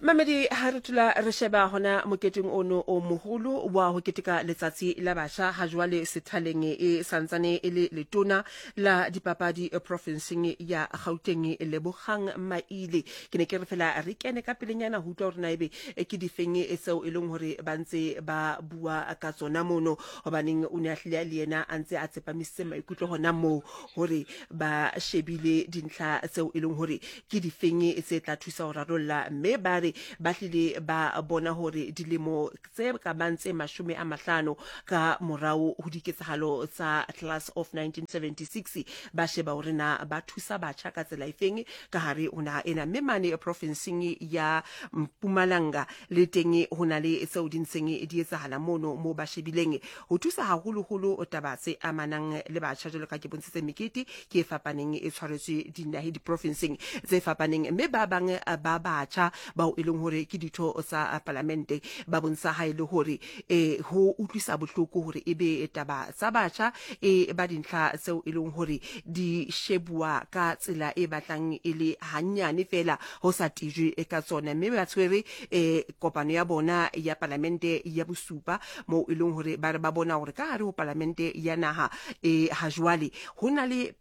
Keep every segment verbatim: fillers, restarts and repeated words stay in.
Mamedi, ha re tula re sheba hona moketeng ono o moholo wa ho keteka letsatsi la batjha ha jwale sethaleng e santsane e le letona la dipapadi profinseng ya Gauteng, Lebogang Maile. Ke ne ke re fela re kene ka pelenyana ho utlwa hore na ebe ke difeng tseo e leng hore ba ntse ba bua ka tsona mono, hobaneng o ne a hlile le yena a ntse a tsepamisitse maikutlo hona moo hore ba shebile dintlha tseo e leng hore ke difeng tse tla thusa ho rarolla, mme ba re ba hlile ba bona hore dilemo tse ka bang tse mashome a mahlano ka morao ho diketsahalo tsa class of nineteen seventy-six ba sheba hore na ba thusa batjha ka tsela efeng ka hare ho naha ena. Mme mane profinseng ya Mpumalanga le teng ho na le tseo di ntseng di etsahala mono mo ba shebileng ho thusa haholoholo taba tse amanang le batjha, jwalo ka ke bontshitse mekete ke e fapaneng e tshwaretswe dinahe diprofinseng tse fapaneng. Mme ba bang ba batjha bao e leng hore ke ditho tsa palamente ba bontsha ha e le hore eh ho utlwisa bohloko hore ebe taba tsa batjha e ba dintlha tseo e leng hore di shebuwa ka tsela e batlang e le hanyane fela ho sa tijwe ka tsona. Mme ba tshwere eh kopano ya bona ya palamente ya bosupa moo e leng hore ba re ba bona hore ka hare ho palamente ya naha e ha jwale ho na le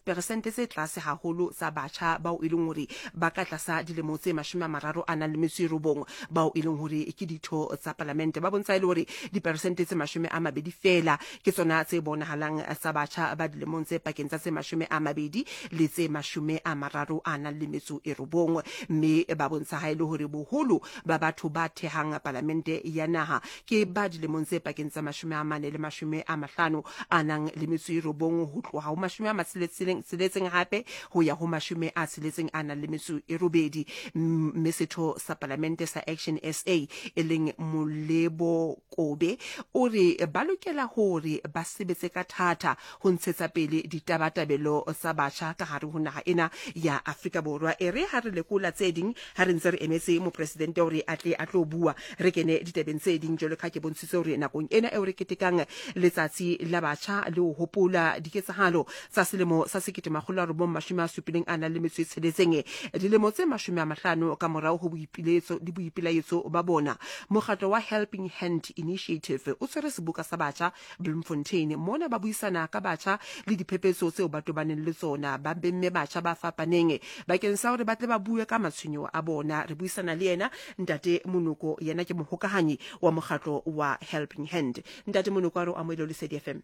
persente tse tlase haholo tsa batjha bao e leng hore ba ka tlasa dilemo tse mashome a mararo a nang le metso e robong bao e leng hore ke ditho tsa palamente. Ba bontsha e le hore diperesente tse mashome a mabedi fela ke tsona tse bonahalang tsa batjha ba dilemong tse pakeng tsa tse mashome a mabedi le tse mashome a mararo a nang le metso e robong. Mme ba bontsha ha e le hore boholo ba batho ba thehang palamente ya naha ke ba dilemong tse pakeng tsa mashome a mane le mashome a mahlano a nang le metso e robong ho tloha ho mashome a matsheletseng tsheletseng hape ho ya ho mashome a tsheletseng a nang le metso e robedi. Mme setho sa palamente sa Action S A e leng Molebo Kobe o re ba lokela hore ba sebetse ka thata ho ntshetsa pele ditabatabelo tsa batjha ka hare ho naha ena ya Afrika Borwa. E re ha re lekola tse ding ha re ntse re emetse mopresidente hore a tle a tlo bua, re kene ditabeng tse ding jwalo ka ke bontshitse hore nakong ena eo re ketekang letsatsi la batjha le ho hopola diketsahalo tsa selemo sa sekete makgolo a robong mashome a supileng a nang le metso e tsheletseng, dilemo tse mashome a mahlano ka morao ho boipiletso le boipelaetso ba bona, mokgatlo wa Helping Hand Initiative o tshwere seboka sa batjha Bloemfontein. Mona ba buisana ka batjha le diphephetso tseo ba tobaneng le tsona, ba bemme batjha ba fapaneng bakeng sa hore ba tle ba bue ka matshwenyeho a bona. Re buisana le yena Ntate Monoko, yena ke mohokahanyi wa mokgatlo wa Helping Hand. Ntate Monoko, a re o amohele Lesedi F M.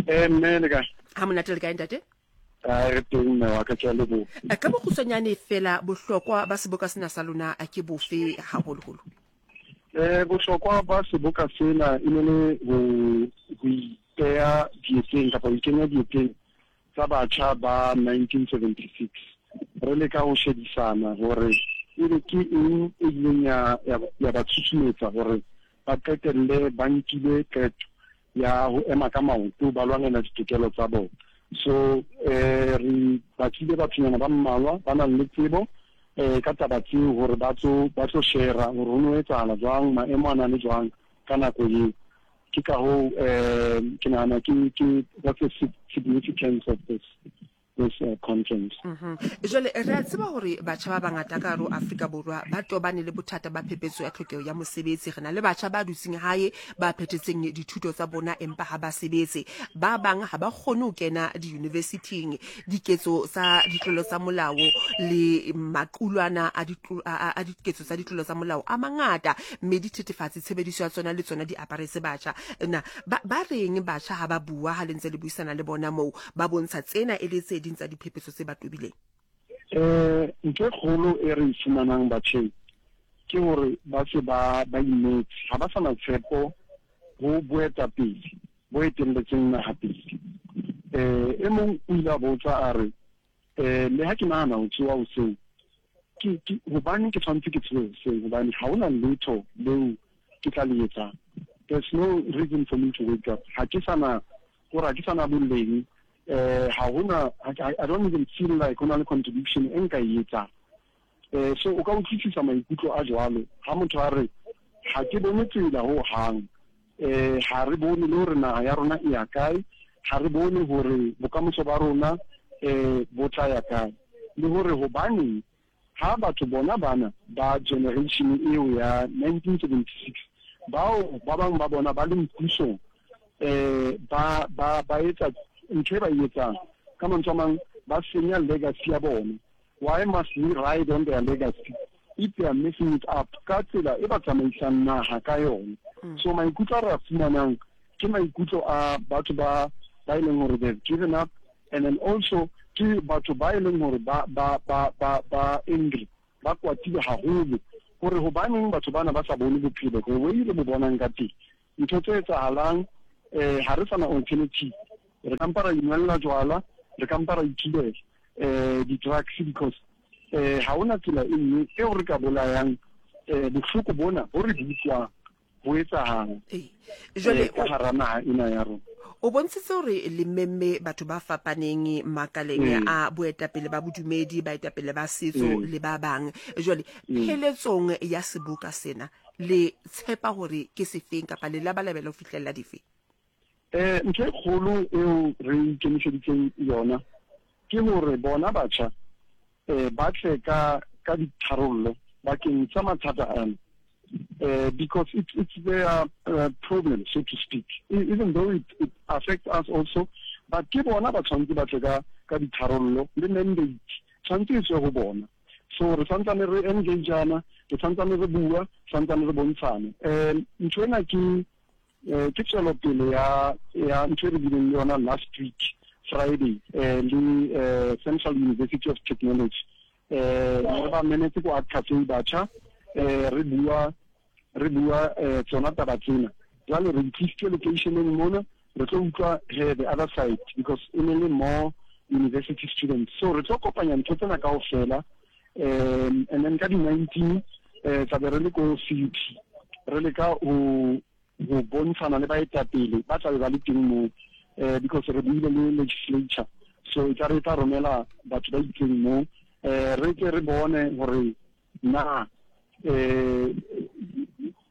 Eh mme le kae? Ha monate le kae ntate? A re teng mme wa ka, ke a leboha. Ka bokgutshwanyane fela, bohlokwa ba seboka sena sa lona ke bofe haholoholo? Eh bohlokwa ba seboka sena e ne le ho ho ipeha dieteng kapa ho ikenya dieteng tsa batjha ba nineteen seventy-six. Re leka ho shebisana hore ebe ke eng e ileng ya ya ba tshusumetsa hore ba qetelle ba nkile qeto ya ho ema ka maoto ba lwanela ditokelo tsa bona. So eh re batlile bathonyana ba mmalwa ba nang le tsebo eh ka taba tseo hore ba tlo ba tlo share hore ho no etsahala jwang, maemo a na le jwang ka nako eo. Ke ka hoo eh ke nahana ke ke what's the significance of this this uh, conference. Mhm. Jwale re a tseba hore batjha ba bangata ka hare ho Afrika Borwa ba tobane le bothata ba phephetso ya tlhokeho ya mosebetsi. Re na le batjha ba dutseng hae ba phethetseng dithuto tsa bona empa ha ba sebetse. Ba bang ha ba kgone ho kena di-universityng. Diketso tsa ditlolo tsa molao le maqulwana a ditlo, a, a diketso tsa ditlolo tsa molao a mangata, mme dithethefatsi tshebediso ya tsona le tsona di aparetse batjha. Na ba, ba reng batjha ha ba bua ha le ntse le buisana le bona moo, ba bontsha tsena e le tse ding tsa diphephetso tse ba tobileng? Eh ntho e kgolo e re e fumanang batjheng ke hore ba se ba ba inetse, ha ba sa na tshepo ho boetapele bo etelletseng naha pele. Eh e mong o ile a botsa a re eh le ha ke nahana ho tsoha hoseng, ke ke hobane ke tshwanetse ke tsohe hoseng, hobane ha hona letho leo ke tla le etsang. There's no reason for me to wake up. Ha ke sana hore ha ke sana boleng, eh ha hona, I, I don't even feel like hona le contribution e nka e etsang. Eh so o ka utlwisisa maikutlo a jwalo ha motho a re ha ke bone tsela ho hang, eh ha re bone le hore naha ya rona e ya kae, ha re bone hore bokamoso ba rona eh bo tla ya kae, le hore hobaneng Ha batho bona bana ba generation eo ya nineteen seventy-six bao ba bang ba bona ba leng pusong eh ba ba ba etsa ntho e ba e etsang ka mantswe a mang ba senya legacy ya bona. Why must we ride on their legacy if they are messing it up ka tsela e ba tsamaisang naha ka yona? So maikutlo a re a fumanang ke maikutlo a batho ba ba e leng hore they've given up, and then also ke batho ba e leng hore ba ba ba ba ba angry, ba kwatile haholo hore hobaneng batho bana ba sa bone bophelo the way re bo bonang ka teng. Ntho tse etsahalang eh ha re sana alternative, re ka mpa ra inwella jwala, re ka mpa ra ithibela eh di-drugs because eh ha hona tsela e nngwe eo re ka bolayang eh bohloko bona bo re bo utlwang bo etsahala jwale ka hara naha ena ya rona. O bontshitse hore le memme batho ba fapaneng makaleng a boetapele ba bodumedi, baetapele ba setso le ba bang. Jwale pheletsong ya seboka sena le tshepa hore ke sefeng kapa le labalabela ho fihlella dife? Eh ntho e kgolo eo re ikemiseditseng yona ke hore bona batjha eh ba tle ka ka ditharollo bakeng tsa mathata ana. Uh, because it's it's their uh, problem, so to speak. Even though it, it affects us also, but ke bona ba tshwanetse ba tle ka ka ditharollo le mandate tshwanetse e tswe ho bona. So re santsane re engageana, re santsane re bua, santsane re bontshane. Um ntho ena ke ke tswelopele ya ya ntho e re bileng le yona last week Friday eh le eh, Central University of Technology. Eh re ba menetse ko Art Cafe batjha, eh re bua re bua eh tsona taba tsena. Jwale re itlisitse locationeng mona, re tlo utlwa he the other side because e ne le more university students. So re tlo kopanya ntho tsena kaofela, um and then ka di nineteen eh tla be re le ko C U T re leka ho ho bontshana le baetapele ba tla be ba le teng moo, eh because re buile le legislature, so e tla re tla romela batho ba itseng moo, eh re tle re bone hore na eh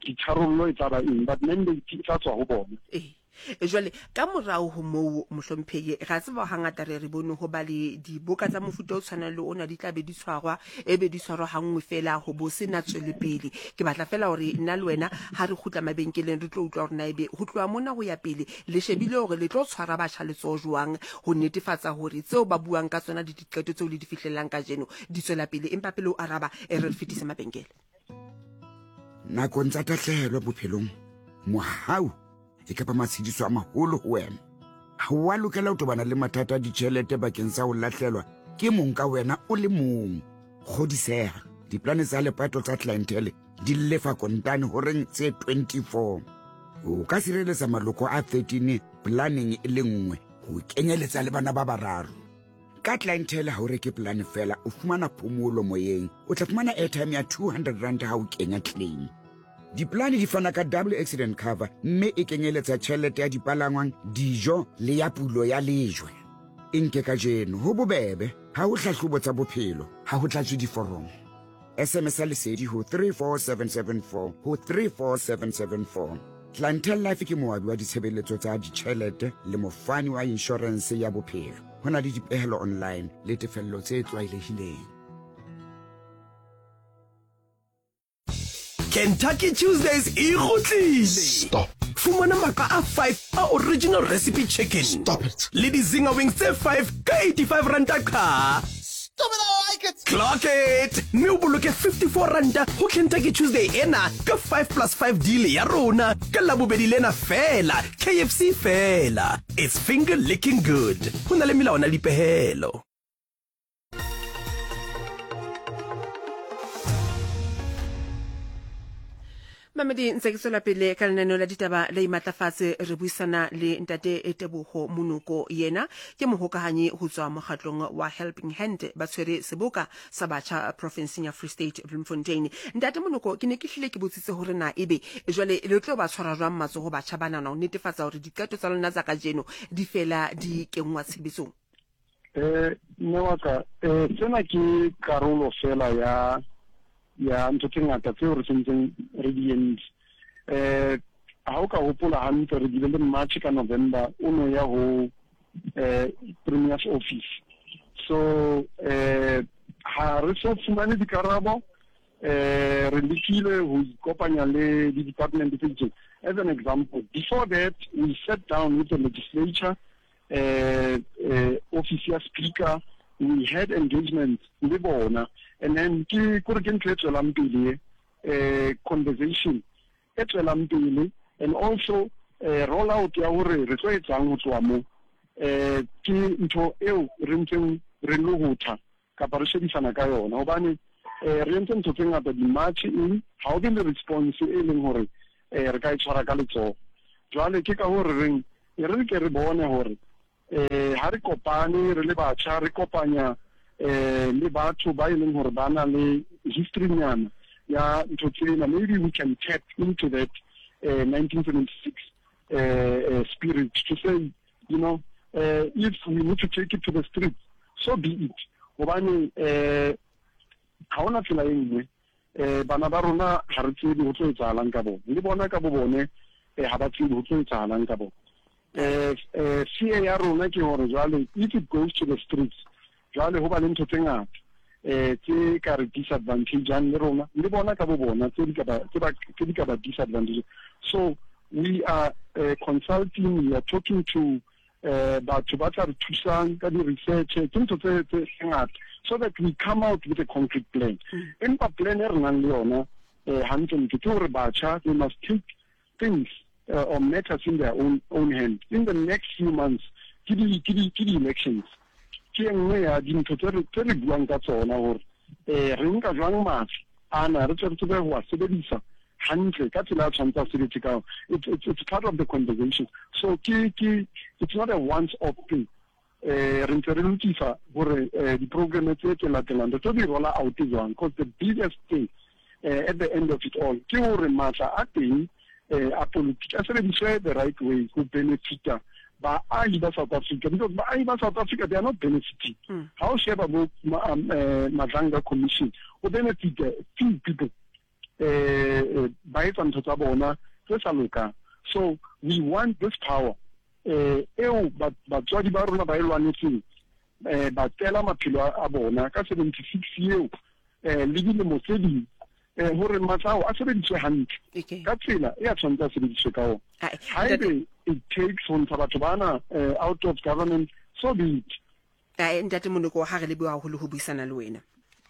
ditharollo e tla ba eng, but mandate e tla tswa ho bona. Eh jwale ka morao ho moo mohlomphehi, ra tseba hangata re re bone ho ba le diboka tsa mofuta o tshwanang le ona di tla be di tshwarwa, e be di tshwarwa hanngwe fela ho bo sena tswelopele. Ke batla fela hore nna le wena ha re kgutla mabenkeleng re tlo utlwa hore na ebe ho tloha mona ho ya pele le shebile hore le tlo tshwara batjha letsoho jwang ho netefatsa hore tseo ba buang ka tsona le diqeto tseo le di fihlellang kajeno di tswela pele. Empa pele o araba, e re fetise mabenkele. Nakong tsa tahlehelo bophelong, mohau e kapa matshediso a maholo ho wena. Ha o a lokela ho tobana le mathata a ditjhelete bakeng sa ho lahlelwa ke mong ka wena o le mong. Kgodiseha, diplane tsa lepato tsa Clientele di lefa kontane horeng tse twenty-four. O ka sireletsa maloko a thirteen planeng e le nngwe ho kenyeletsa le bana ba bararo. Ka Clientele ha o reke plane fela, o fumana phomolo moyeng. O tla fumana airtime ya two hundred rand ha o kenya claim. Diplane di fana ka double accident cover mme e kenyeletsa tjhelete ya dipalangwang, dijo le ya pulo ya lejwe. E nke kajeno ho bobebe, ha ho hlahlobo tsa bophelo, ha ho tlatswe diforomo. S M S ya lesedi ho three four seven seven four ho three four seven seven four. Clientele Life ke moabi wa ditshebeletso tsa ditjhelete le mofani wa inshorense ya bophelo. Ho na le dipehelo online le tefello tse tlwaelehileng. Kentucky Tuesdays e kgutlile. Stop. Fumana maka a five a original recipe chicken. Stop it. Le di-zinger wings tse five ka eighty-five ranta qha. Stop it, I like it. Clock it. Mme o boloke fifty-four ranta ho Kentucky Tuesday ena ka five plus five deal ya rona ka Labobedi lena fela, K F C fela. It's finger licking good. Ho na le melawana le dipehelo. Mamedi, ntse ke tswela pele ka lenaneo la ditaba le imatlafatse, re buisana le ntate Teboho Monoko, yena ke mohokahanyi ho tswa mokgatlong wa Helping Hand, ba tshwere seboka sa batjha profinseng ya Free State Bloemfontein. Ntate Monoko, ke ne ke hlile ke botsitse hore na ebe jwale le tlo ba tshwara jwang matsoho batjha bana na ho netefatsa hore diqeto tsa lona tsa kajeno di fela di kenngwa tshebetsong? Eh mme wa ka, eh sena ke karolo fela ya ya ntho tse ngata tseo re sentseng re di entse. Eh ha o ka hopola hantle, re bile le March ka November o no ya ho eh Premier's office. So eh Ha re so fumane dikarabo, eh re lekile ho ikopanya le di-department tse itseng. As an example, before that we sat down with the legislature, uh, uh, office ya speaker, we had engagement le bona, and then ke kore ke ntho e tswelang pele, eh conversation e tswelang pele, and also eh roll out ya hore re tlo etsang ho tloha mo, eh ke ntho eo re ntseng re lohotha kapa re shebisana ka yona, hobane eh re entse ntho tse ngata di-march in, ha o be le response e leng hore eh re ka e tshwara ka letsoho. Jwale ke ka hore reng e re ke re bone hore eh ha re kopane re le batjha, re kopanya eh le batho ba e leng hore ba na le history nyana ya ntho tsena, maybe we can tap into that uh, nineteen seventy-six uh, uh, spirit to say, you know, uh, if we need to take it to the streets, so be it. Hobane eh ha hona tsela e nngwe, eh bana ba rona ha re tsebe ho tlo etsahalang ka bona, le bona ka bo bone eh ha ba tsebe ho tlo etsahalang ka bona. Eh eh fear ya rona ke hore jwale if it goes to the streets, jwale ho ba le ntho tse ngata eh tse ka re disadvantage-ang le rona le bona ka bo bona, tse di ka ba tse ba tse di ka ba disadvantage. So we are uh, consulting, we are talking to uh, batho ba tla re thusang ka di-research, ke ntho tse tse ngata, so that we come out with a concrete plan. Empa plan e re nang le yona eh hantlentle ke hore batjha, they must take things uh, or matters in their own own hand. In the next few months, ke di ke di ke di-elections, ke e nngwe ya dintho tse re tse re buang ka tsona hore eh re nka jwang matla ana, re tle re tsebe ho a sebedisa hantle ka tsela ya tshwanetse a sebetse ka yona. It's, it's, it's part of the conversation. So ke ke it's not a once off thing. Eh re ntse re lokisa hore di-program tse tse latelang re tlo di rolla out jwang, because the biggest thing uh, at the end of it all ke hore matla a teng eh a politiki a sebediswe the right way ho benefita baahi ba South Africa, because baahi ba South Africa, they are not benefiting. Ha o sheba bo Madlanga Commission, o benefita few people, eh ba etsa ntho tsa bona tse sa lokang. So we want this power eh eo batswadi ba rona ba e lwanetseng, eh ba tela maphelo a bona ka seventy-six eo eh le dilemo tse ding, eh hore matla ao a sebediswe hantle ka tsela e a tshwanetse a sebediswe ka ona. Haebe it takes ho ntsha batho bana out of government, so be it. Eh ntate Moloko, ha re leboha haholo ho buisana le wena.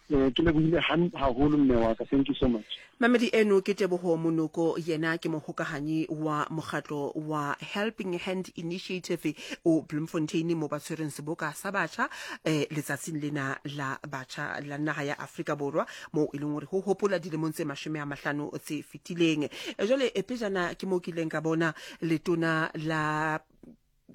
Eh ke lebohile haholo mme wa ka, thank you so much. Mamedi eno ke Teboho Moloko, yena ke mohokahanyi wa mokgatlo wa Helping Hand Initiative o Bloemfontein, mo ba tshwereng seboka sa batjha eh letsatsing lena la batjha la naha ya Afrika Borwa, mo e leng hore ho hopola dilemong tse mashome a mahlano tse fetileng. Jwale pejana ke mo kileng ka bona letona la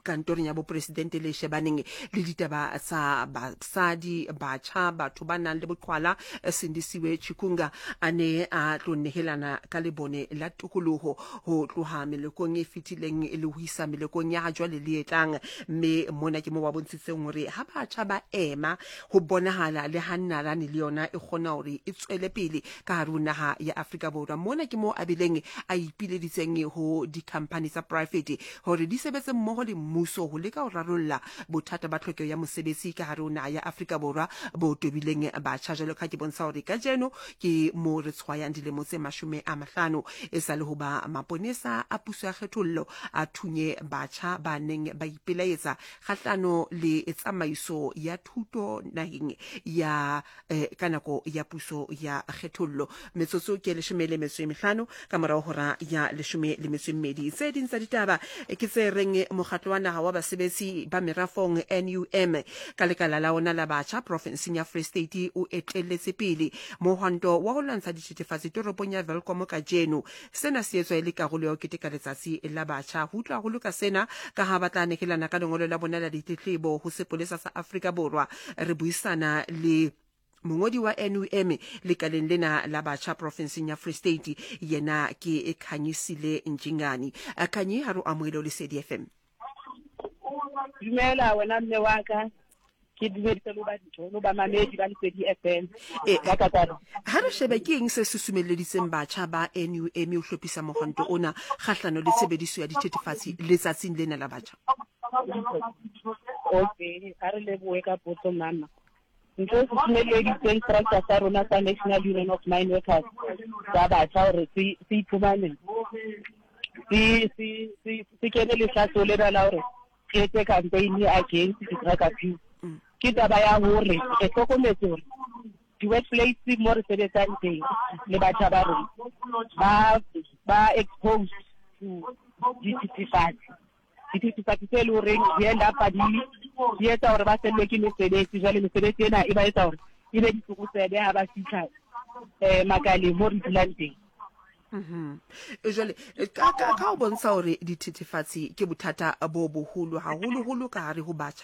kantorong ya bopresidente le shebaneng le ditaba tsa basadi, batjha, batho ba nang le boqhwala, Sindisiwe Chikunga, a ne a tlo nehelana ka lebone la tokoloho ho tloha melekong e fetileng le ho isa melekong ya jwale le e tlang. Mme mona ke mo ba bontshitseng hore ha batjha ba ema ho bonahala le ha nalane le yona e kgona hore e tswele pele ka hare ho naha ya Afrika Borwa. Mona ke mo a bileng a ipileditseng ho di-company tsa private hore di sebetse mmoho le mmuso ho leka ho rarolla bothata ba tlhokeho ya mosebetsi ka hare ho naha ya Afrika Borwa bo tobileng batjha. Jwalo ka ke bontsha hore kajeno ke mo re tshwayang dilemo tse mashome a mahlano e sa le ho ba maponesa a puso ya kgethollo a thunye batjha ba neng ba ipelaetsa kgahlano le tsamaiso ya thuto naheng ya eh, ka nako ya puso ya kgethollo. Metsotso ke leshome le metso e mehlano ka morao hora ya leshome le metso e mmedi. Tse ding tsa ditaba ke tse reng mokgatlo wa naha wa basebetsi ba merafong N U M ka lekala la ona la batjha profinseng ya Free State o etelletse pele mohwanto wa ho lwantsha dithethefatsi toropong ya Welkom kajeno. Sena se etswa e le karolo ya ho keteka letsatsi la batjha. Ho utlwa haholo ka sena ka ha ba tla nehelana ka lengolo la bona la ditletlebo ho sepolesa sa Afrika Borwa. Re buisana le mongodi wa N U M lekaleng lena la batjha profinseng ya Free State, yena ke Khanyisile Njingani. Khanyi, ha re amohele Lesedi F M. Dumela wena mme wa ka, ke dumedise lo ba lo ba mamedi ba Lesedi F M. Ha re shebe ke eng se susumelleditseng batjha ba N U M ho hlophisa mohwanto ona kgahlano le tshebediso ya dithethefatsi letsatsing lena la batjha? Okay, ha re lebohe ka potso mama. Ntho e susumelleditseng structure sa rona sa National Union of Mine Workers sa batjha hore se se iphumane se se se se kene lehlaso lena la hore re etse campaign against di-drug abuse, ke taba ya hore re hlokometse hore di-workplace mo re sebetsang teng le batjha ba rona ba ba exposed to dithethefatsi, dithethefatsi tse leng horeng di end up di di etsa hore ba fellwe ke mesebetsi. Jwale mesebetsi ena e ba etsa hore e be ditlokotsebe ha ba fihla um makaleng mo re dulang teng. Mhm. Jwale ka ka ka o bontsha hore dithethefatsi ke bothata bo boholo haholoholo ka hare ho batjha.